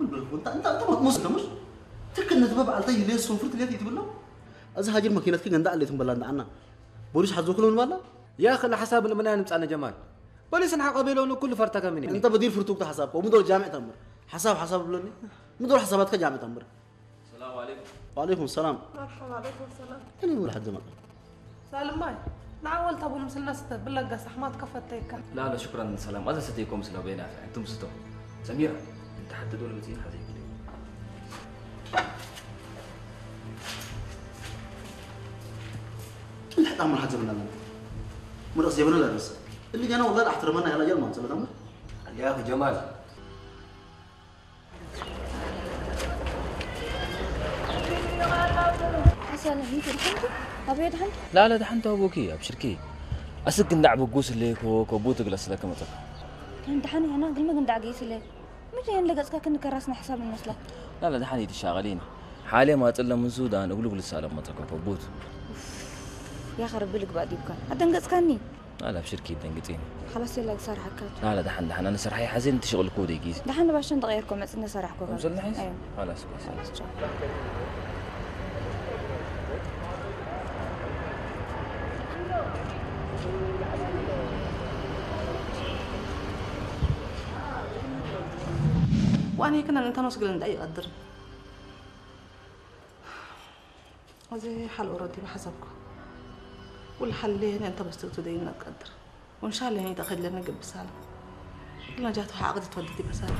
እንታ እንታ እንታ ሞት ሞት ትክክል ነቲ በዓልታ ይለየስ ሶንፍርት ለየት ይትብሎ። እዚ ሃጅር መኪናትኪ ገንዳ ኣለይትን በላ እንዳዓና ቦሊስ ሓዞ ክሎ ንባላ። يا أخي، الحساب من المنايا نمتعنا جمال. بوليس نحق بيلون كل فرتك مني. انت بدير فرتوك حسابك ومدور جامع تمر. حساب حساب بلوني. مدور حساباتك جامع تمر. السلام عليكم. وعليكم السلام. مرحبا، عليكم السلام. انا نقول حد ما. سالم ماي. نعول تابو مسلنا ستة بلا قاس أحمد كفتيك. لا لا، شكرا سلام. هذا ستيكم سلو بينا، انتم ستو. سميرة، انت حتى دول متين حزين كده. اللي حتى عمر حتى بنا. مرة زي بنا لا بس. اللي جانا والله احترمنا يا رجال ما نسبة عمر. يا أخي جمال. ሰላም፣ ይቅርታ፣ ኣበይ ድሓን? ላለ ድሓን ተዋቦኪ ኣብሽርኪ። ኣስክ እንዳዕ ብጉስ ለይኮ ከቡት ግለስ ለከ መጸካ። ከም ድሓን ያና ግልመ ግንዳዕ ገይስ ለይ። ምድሪ የን ለገጽካ ክንከራስና ሕሳብ እንመስላ። ላለ ድሓን ይትሻቀሊኒ። ሓሌ ማጽለ ምን ሱዳን እግሉ ግልስ ኣለ መጸካ ከቡት። ያኸ ረቢ ልግባእ ዲብካ ኣደንገጽካኒ። ላለ ኣብሽርኪ ደንግጺኒ። ሓላስ የላ ዝሰርሓካ። ላለ ድሓን ድሓን ኣነ ስርሓይ ሓዜን ትሽቅልኩ ደይ ጊዜ። ድሓን ንባሽን ተቀየርኮ መጽነ ሰራሕኮ። ከምሰልናሒስ? ሓላስ ኮሰ። ዋኔ ክነን እንተን ወስግለን ዳይ ይቐድር። እዚ ሓል ኦረዲ ብሓሳብኩ። ወላ ሓል ለየነ እንተ በስትግቱ ደይነ ቀድር። ወንሻ ለየነ ይተኸለነ ግብሳል። ለጃቱ ሓቕድ ትወድድ ይበሳል።